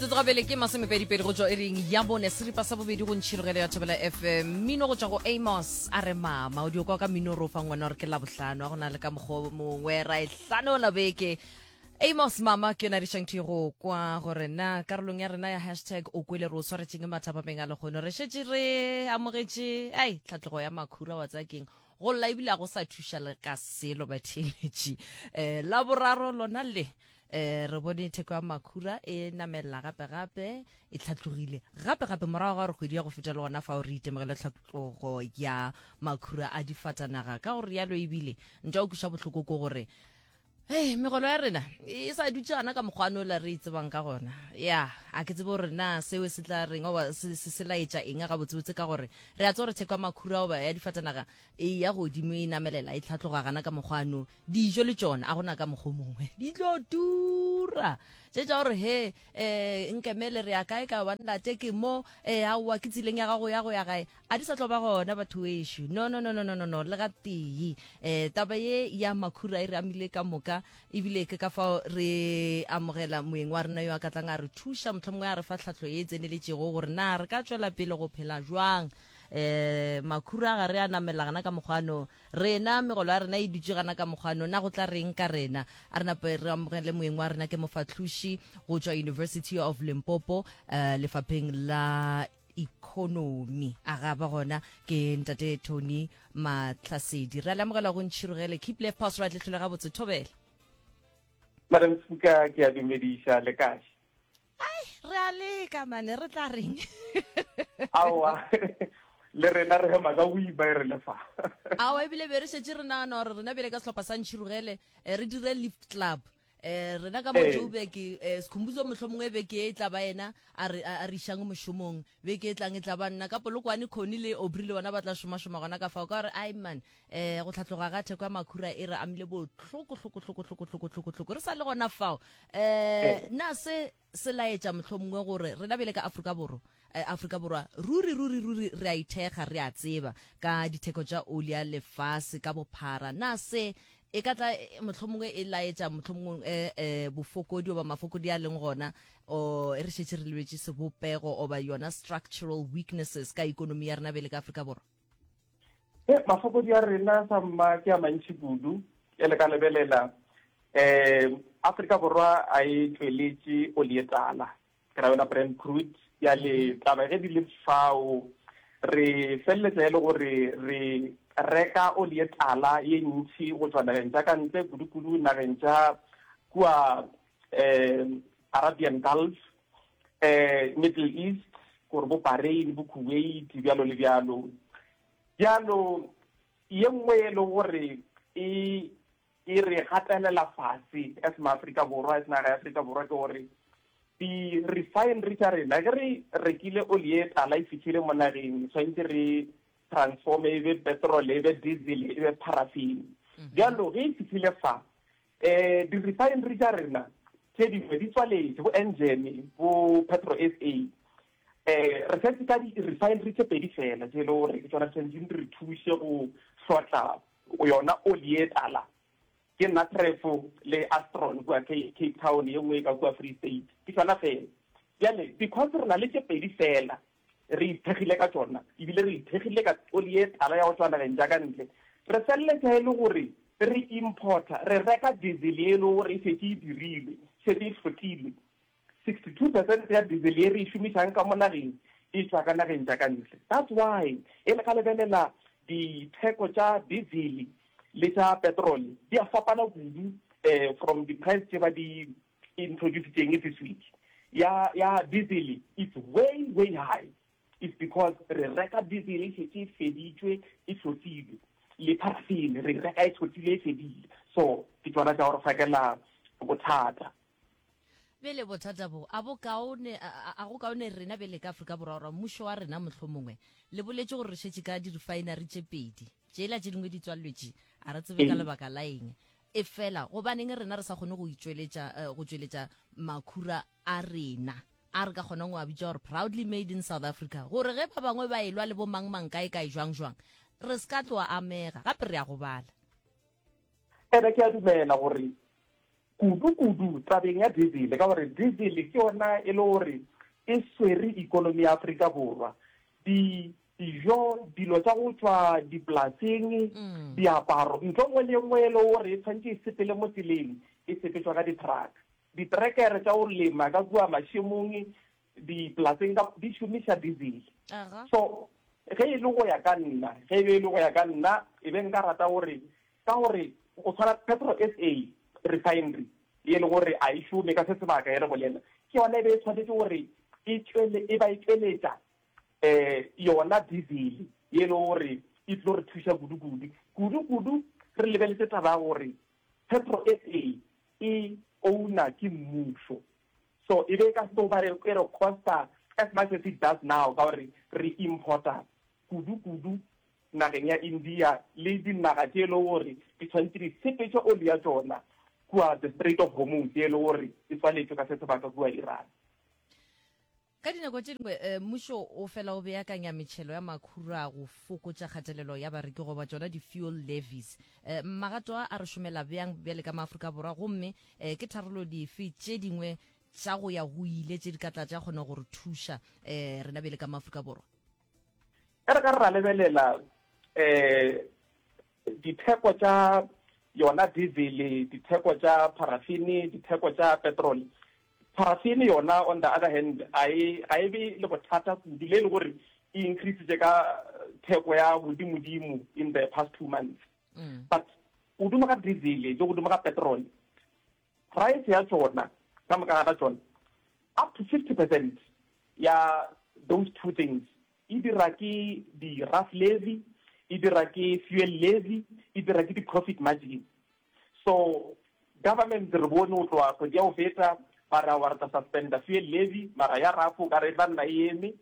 Metsotso gabele ke masomepedipedi go tšwa iring ya bone seripa sa bobedi go ntšhirogelo ya Thobela FM. Mmino go tšwa go Amos a re mama o dio kwa ka mmino re o fa ngwana gore ke Labohlano a go na le ka mokgwa o mongwe ra e hlanola beke. Amos mama ke yona re išang thwi go kwa gore na karolong ya rena ya hashtag o kwele re o swaretšeng mathapameng a lehono re šetše re amogetše ai tlhatlogo ya makhura wa tsaya keng go lla ebile a go sa thuša le ka selo batheeletši um la boraro lona le um re bone theko ya makhura e namelela gape gape e tlhatlogile gape gape morago ga gore kgwedi ya go feta le gona fao re itemogele tlhatlogo ya makhura a difatanaga ka gore yalo ebile ntwa o kweša bohloko ko gore Hey, megolo ya rena e sa dutše gana ka mokgwa nola re e tsebang ka gona ya a ke tsebe gore na seo se tla reng oba se se se laetša eng gabotsebotse ka gore re a tseba gore theko ya makhura oba ya difatanaga e ya godimo e namelela e tlhatloga gana ka mokgwa ano dijo le tšona a gona ka mokgwa o mongwe di tlo tura tše tša gore he um nkemele re ya kae ka banlate ke mo um aowa ke tseleng ya gago ya go ya gae A di sa tlo ba gona batho wešo. No, no, no, no, no, no, no, le ga tee. Eh, taba ye ya makhura e re amile ka moka, ebile ke ka fao re amogela moeng wa rena yo a ka tlang a re thuša, mohlomongwe a re fa tlhahlo ye e tseneletšego gore na re ka tšwela pele go phela jwang. Eh, makhura ga re a namela gana ka mokgwano, rena megolo ya rena e dutše gana ka mokgwano, na go tla reng ka rena? A re nape re amogele moeng wa rena, ke mofahloši go tšwa University of Limpopo, eh, lefapheng la economy a ga ba gona ke ntate Tony Matlhasedi re a le amogela go ntšhirogele keep left pass right le tlhole gabotse thobela Madam Speaker ke a dumediša le kae ai re a leka mane re tla reng aowa le rena re hema ka boima e re le fa aowa ebile be re šetše re nagana gore rena bjale ka sehlopha sa ntšhirogele eh, re dire lift club Eh, rena ka mo Joburg eh, Skhumbuzo mohlomongwe beke e tla ba yena a re a re išang mošomong beke e tlang e tla ba nna ka Polokwane Connie le Aubrey le bona ba tla šomašoma gona ka fao ka gore ai man eh go tlhatloga ga theko ya makhura e re amile bohloko hloko hloko hloko hloko hloko hloko re sa le gona fao eh na se se laetša mohlomongwe gore rena bjale ka Afrika Borwa eh, Afrika Borwa ruri ruri ruri re a ithekga re a tseba ka ditheko tša oli ya lefase ka bophara na se E ka tla mohlomongwe e laetša mohlomongwe e, e, bofokodi oba mafokodi a leng gona o e re šetše re lebetše sebopego oba yona structural weaknesses ka ikonomi ya rena bele ka Afrika Borwa. E, mafokodi a rena sa mma ke a mantši kudu e le ka lebelela um Afrika Borwa a e tšweletše oli e tala ke ra yona Brent crude. Bjale taba ge di le fao, re feleletša e le gore re reka oli ye tala ye ntši go tšwa nageng tša ka ntle, kudu-kudu nageng tša kua um Arabian Gulf, um Middle East, gore bo Bahrain, bo Kuwait, bjalo le bjalo. Bjalo ye nngwe e le gore e e re gatelela fase as maAfrika Borwa, as naga ya Afrika Borwa ke gore di-refinery tša rena ge re rekile oli ye tala e fihlile mo nageng tshwanetse re transforme e be petrol e be diesel e be paraffin mhm. bjalo ge e fihlile fa um di-refinery tša rena tše dingwe di tswaletše bo Engen bo Petro SA um re setse ka di-refinery tše pedi fela tše e le gore ke tsona di tshwanetseng di re thuse go hlotla yona oli ye tala ke Natref le Astron kua Cape Town, ye nngwe e ka kua Free State, ke tšona fela. Bjale because re na le tše pedi fela re ithekgile ka tšona, ebile re ithekgile ka oli ye tala ya go tšwa nageng tša ka ntle, re feleletša e le gore re importa, re reka diesel ye e le gore e šetše e dirilwe, šetše e hlotlilwe. 62 percent ya diesel ye re e šomišang ka mo nageng e tšwa ka nageng tša ka ntle. That's why e le ka lebelela ditheko tša diesel le tša petrol di a fapana kudu eh, from the price tše ba di introducitseng this week. Ya, ya diesel it's way way high. It's because re reka diesel e šetše e feditšwe e hlotlilwe le paraffin re reka e hlotlile e fedile. So ke tšona tša go re fakela bothata. Bjale bothata bo, a bo kaone, a, a go kaone rena bjale ka Afrika Borwa, gore mmušo wa rena mohlomongwe, le boletše gore re šetše ka di-refinery tše pedi, tšela tše dingwe di tswalletše, a re tsebe ka lebaka la eng. Efela gobaneng rena re sa kgone go itšweletša, eh, go tšweletša makhura a rena, a re ka kgonang go a bitša gore proudly made in South Africa, gore ge ba bangwe ba elwa le bo mang mang kae kae jwang jwang, re se ka tloa amega, gape re a gobala. Ene ke a dumela gore. Kudu-kudu tabeng ya diesel, ka gore diesel ke yona e le gore e swere ikonomi ya Afrika Borwa. Di dijo, dilo tša go tšwa dipolaseng, diaparo, ntho e nngwe le e nngwe e le gore e tshwanetše e sepele mo tseleng, e sepetšwa ka di-truck. Ditrekere tša go lema ka kua mašemong, dipolaseng ka, di šomiša diesel. So ge e le go ya ka nna, ge e be e le go ya ka nna, e be nka rata gore Ka gore go tshwana Petro SA refinery ye e le gore a e šome ka se sebaka e re bolela, ke yona e be e tshwanetše gore e tšwele e ba e tšweletša um yona diesel ye e le gore e tlo re thuša kudu-kudu. Kudu-kudu re lebeletše taba ya gore Petro SA e owner ke mmušo. So e be e ka se tlo ba e re costa as much as it does now ka gore re importer kudu-kudu nageng ya India le dinaga tše e lego gore di tshwanetše di sepetše oli ya tšona kua the Strait of Hormuz ye e lego gore e tswaletšwe ka se sebaka kua Iran. Ka dinako tše dingwe eh, mmušo o fela o beakanya metšhelo ya makhura go fokotša kgatelelo ya bareki goba tšona di-fuel levies. Eh, magato a a re šomela bjang bjale ka maAfrika Borwa gomme eh, ke tharollo dife tše dingwe tša go ya go ile tše di ka tla tša kgona go re thuša eh, rena bjale ka maAfrika Borwa? E re ka re ra lebelela um ditheko tša yona diesel, ditheko tša paraffin, ditheko tša petrol, paraffin yona on the other hand ga e ga e be le bothata kudu le e le gore e increasitše ka theko ya godimodimo in the past 2 months. But godimo ga diesel le godimo ga petrol, Price ya tšona ka moka ga tšona up to 50 percent ya those two things e dira ke di rough levy, e dira ke fuel levy, e dira ke di profit margin. So government re bone go tloga kgwedi ya go feta ba re aowa re tla suspenda fuel levy mara ya rough o ka re e tla nna e eme.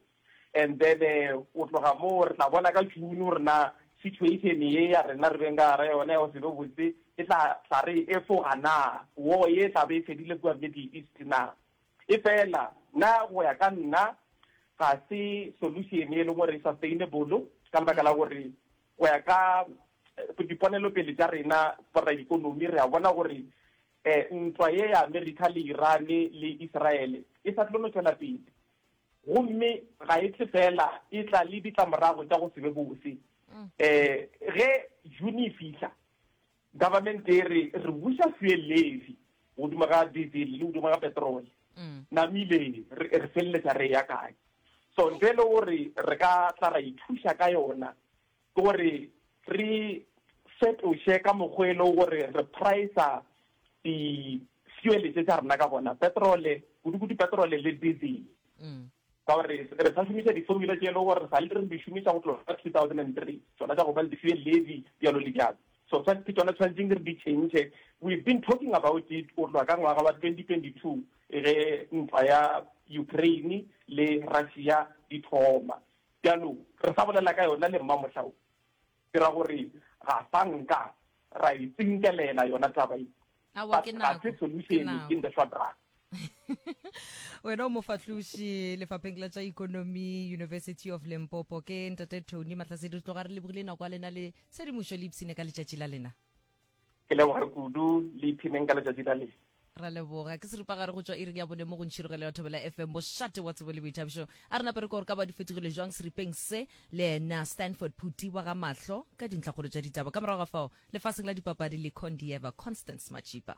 And then o tloga moo re tla bona ka June gore na situation ye ya rena re beng ka gara yona ya go se be botse e tla tla re efoga na, war ye e tla be e fedile kua Middle East na. Efela nna go ya ka nna ga se solution e leng gore e sustainable ka lebaka la gore go ya ka diponelopele tša rena boraikonomi re a bona gore ntwa ye ya America le Iran le Israel e sa tlo no tšwela pele. Gomme ga e tle feela, e tla le ditlamorago tša go se be bose. Um ge June e fihla, government e re re buša fuel levy godimo ga diesel le godimo ga petrol. Namile re re feleletša re eya kae? So ntho e le gore re ka tla ra ithuša ka yona ke gore re fetoše ka mokgwa e le gore re pricer di-fuel tše tša rena ka gona, petrole, kudu-kudu petrole le diesel. Ka gore re sa šomiša di-formula tše e le gore re sa le re di šomiša go tloga ka 2003, tšona tša go ba le di-fuel levy bjalo le bjalo. So ke tšona tshwanetseng re di change. We've been talking about it go tloga ka ngwaga wa 2022 ge ntwa ya Ukraine le Russia di thoma. Bjalo, re sa bolela ka yona le mmamohla wo, ke ra gore ga sa nka ra e tsinkelela yona taba ye. Aowa, But ke ga nako, se ke solution nako. in the short run. Wena o mofahloši lefapheng la tša ikonomi University of Limpopo. Ke Ntate Tony Mahlasedi, re tloga re lebogile nako ya lena le tshedimošo le ipshine ka letšatši la lena. Ke leboga kudu, le ipshineng ka letšatši la lena. Ra leboga. Ke seripagare go tšwa iring ya bone mo go Ntšhirogelo ya Thobela FM, mošate wa tsebo le boithabišo. A re nape re kwa gore ka ba di fetogile jwang seripeng se le yena Stanford Phuti wa ga Mahlo ka dintlhakgolo tša ditaba. Ka morago ga fao, lefaseng la dipapadi le Condieva Constance Majipa.